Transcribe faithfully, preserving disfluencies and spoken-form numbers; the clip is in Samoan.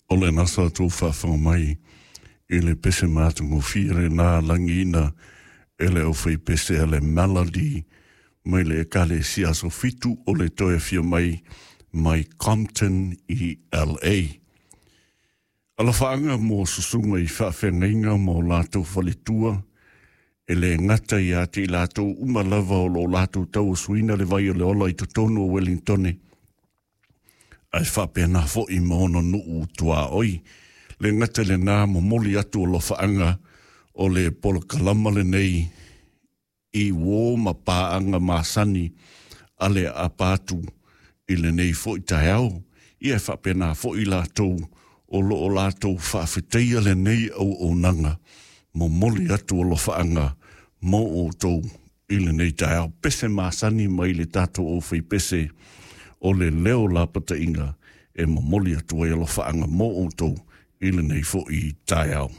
O le nasa tou faafofoga mai i le pese matagofie lenā lagiina e le aufaipese a le Melody mai le Ekalesia Aso Fitu o le Toe Afio Mai mai Compton i L A. Alofaaga mo susuga i faafeagaiga ma o latou faletua, e le gata ia te i latou uma lava o lo o latou tauasuina le vai o le ola i totonu o Wellingtone, ae faapena foi ma ona nuu tuaoi. Le gata lenā, momoli atu alofaaga o le polokalama lenei i uō ma paaga masani a le aapa atu i lenei foi taeao. Ia e faapena foi latou o lo o latou faafetaia lenei auaunaga, momoli atu alofaaga mo outou i lenei taeao. Pese masani mai le tatou aufaipese o le Leo Lapataiga e momoli atu ai alofaaga mo outou i lenei foi taeao.